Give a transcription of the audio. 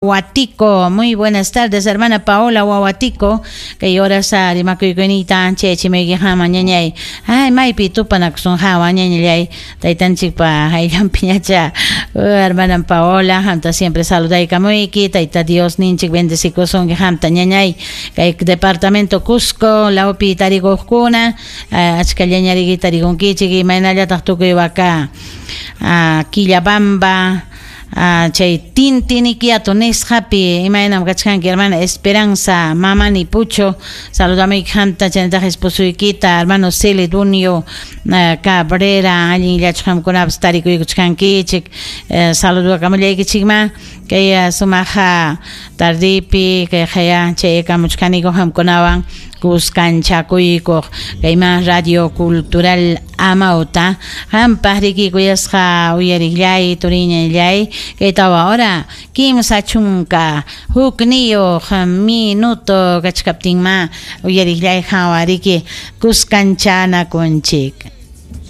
Huatico. Muy buenas tardes, hermana Paola Huahuatico. Kay orasa rimakuykunita chayachimuyki ñañay. Ay, maypi tupanakusun hawa ñañallay. Taytanchikpa hayllanpiñacha. Hermana Paola, hamta siempre saludaykamuyki. Tayta Dios ninchik bendecikusunki hamta ñañay. Kay departamento Cusco, lawpi tarikuqkuna, achkallañariki tarikunkichik imaynallataq tukuy waka Quillabamba, chay Tintiniquiato nisqapi imaynam kachkanki hermana Esperanza Mamani Pucho saludamuyki qamta chaynataq esposuykita hermano Celedonio Cabrera allinllachu qamkunapas tarikuykuchkankichik saludakamullaykichikma kay sumaq tardipi kay qaya chayakamuchkaniku qamkunawan kuskanchakuykuq kayman Radio Cultural Amauta qampaq riki kuyasqa uyariqllay turiñallay kay tawa hora 31 minuto kachkaptinma uyariqllay hawa riki kuskanchanakunchik.